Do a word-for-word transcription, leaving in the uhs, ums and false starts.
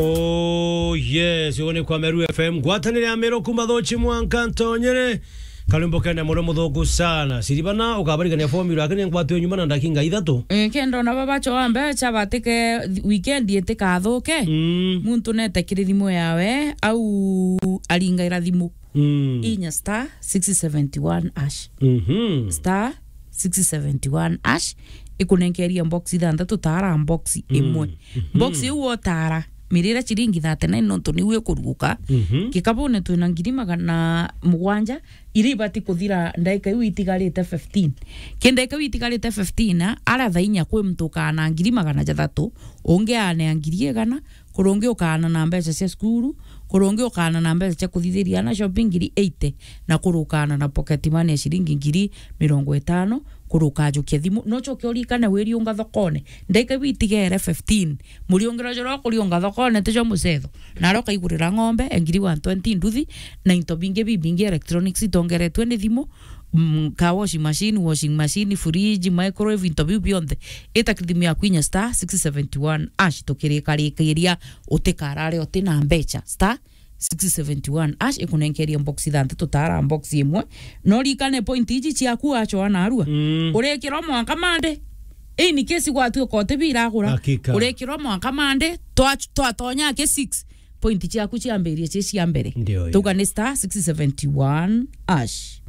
Oh yes, ugo ni kwa Meru F M. Ngwatanire ya Meru kuma Thochi mwanka Ntonyere. Karimbo kene muno muthuku sana. Siribana ukabarigania formula, lakini ngwatwe nyuma na ndakinga ithatu. Eh, kendo na baba choa mbecha batike weekend itikathuke. Mm. Muntu nete kiri thimu yawe, au aringaira thimu. Mm. Inya star six seventy one hash. Mhm. Star six seventy one hash. Ikunenkeria box ithanthatu, tara box imwe. Mhm. Box iu wotara, mirira ciringi thirty nine nontu niu ikuruguka. Mhm. Kikabune twina ngiri magana mugwanja, iria ibati kuthira ndaika iu itigarite fifteen. Ki ndaika iu itigarite fifteen, ara thaa inya kwi muntu ukaana ngiri magana jathatu, ungi aanea ngiri igana, kuri ungi ukaana na mbeca cia cukuru, kuri ungi ukaana na mbeca cia kuthithiria ana shopping ngiri eighty, na kuri ukaana na pocket money ya ciringi ngiri mirongo itano, kuri ukajukia thimu. No ucoke urikane wiriunga thokone. Ndaika iu itigere fifteen. Muriungiro juria ukuriunga thokone ti jwa mucetho. Nario ukaigurira ng'ombe, e ngiri one twenty nduthi, na into bingi bibingi electronics itongeretwe ni thimu, mm, ka washing machine, washing machine, fridge, microwave, into biu bionthe. Ita thimu yaku inya star six seventy one hash tukirikarikiria utikarare uti na mbecha. Star six seventy one hash ikunenkeria box ithanthatu, tara box imwe. No rikane point iji ciaku wachoa narua. Mm. Urikirwa mwanka mande. In case gwatuika uti biragura. Hakika. Urikirwa mwanka mande, twa-, twatonya ki six. Point ciaku ciambirie ci cia mbere. Ndio, tuga ni star six seventy one hash.